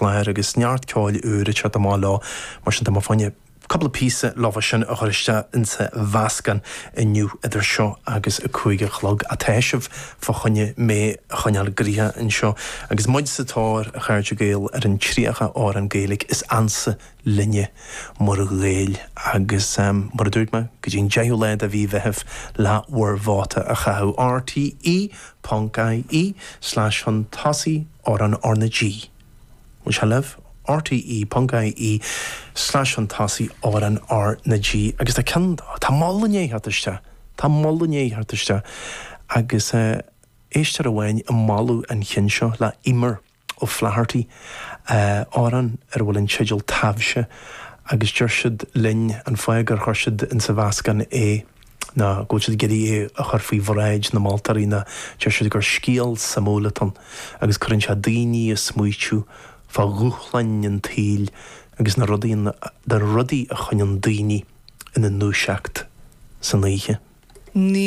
chlár agus neart ceoil úr ag teacht amach leo, mar sin tá mé fá choinne cúpla píosa leofa sin a chur isteach insa mheascán inniu idir seo agus a 5 a chlog. Ach tá sibh fá choinne mé a choinneáil gnoitheach anseo agus muid sa tóir, a chairde Gael, ar an 30 amhrán Gaeilge is ansa linne mar Ghaeil agus, mar a dúirt mé, go dtí an 10ú lá de mhí Mheithimh le bhur vóta a chaitheamh. RTÉ ponc IE slash chun tosaigh amhrán R na G. Bhfuil sé libh? RTÉ ponc IE slash chun tosaigh amhrán R na G. Agus tá ceann, tá moladh i ndiaidh theacht isteach, tá moladh i ndiaidh theacht isteach agus éisteoir amháin ag moladh an chinn seo le Eimear O'Flaherty, amhrán ar a bhfuil an teideal Taibhse agus deir siad linn an fáth gur chuir siad insa mheascán é ná go bhfuil siad ag iarraidh é a chur faoi bhráid na moltóirí ná deir siad gur scéal suimiúil atá ann agus cuireann sé daoine ag smaoitiú fá dhúshláin an tsaoil agus na rudaí na rudaí a choinníonn daoine ina ndúiseacht san oíche. Ní.